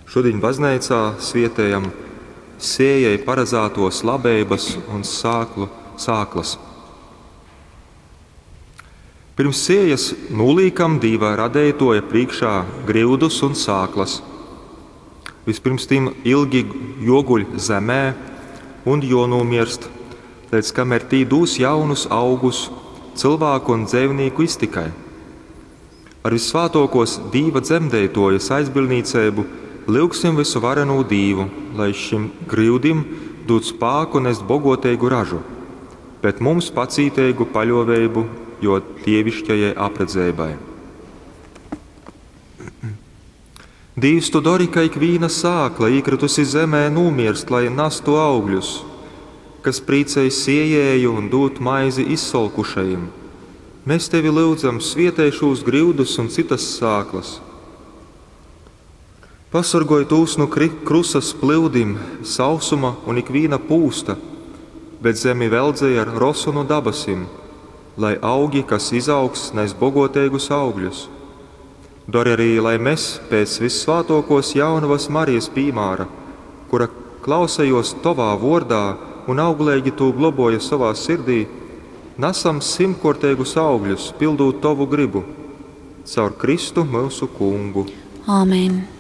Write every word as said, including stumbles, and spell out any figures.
Šodien bazneicā svietējam sējai paradzētos labeibas un sāklu, sāklas. Pirms sējas nolīkam Dīva radeitoja priekšā gryudus un sāklas. Vispirms tīm ilgi joguļ zemē un jonūmirst, līdz kamēr tī dūs jaunus augus cilvēku un dzīvnieku iztikai. Ar visvētākos Dīva dzemdētojas aizbildniecību lyugsim visu varenū Dīvu, lai šim gryudim dod spāku nest bogotīgu ražu, bet mums pacītīgu paļoveibu, jo dievišķajai apredzēbai. Dīvs, tu dari, ka ikvīna sākla īkritusi zemē nomirst, lai nastu augļus, kas prīcej siejēju un dūt maizi izsolkušajiem. Mēs tevi lūdzam, svietē šos gryudus un citas sāklas. Pasargoj tūs no krusas plūdim, sausuma un ikvīna pūsta, bet zemi veldzēj ar rosu no dabasim, lai augi, kas izaugs, nes bogotīgus augļus. Dari arī, lai mēs pēc vissvētākos jaunavas Marijas pīmāra, kura klausējos tovā vordā un auglīgi tū globoja savā sirdī, nesam simtkortīgus augļus, pildot tovu gribu. Caur Kristu mūsu kungu. Āmen.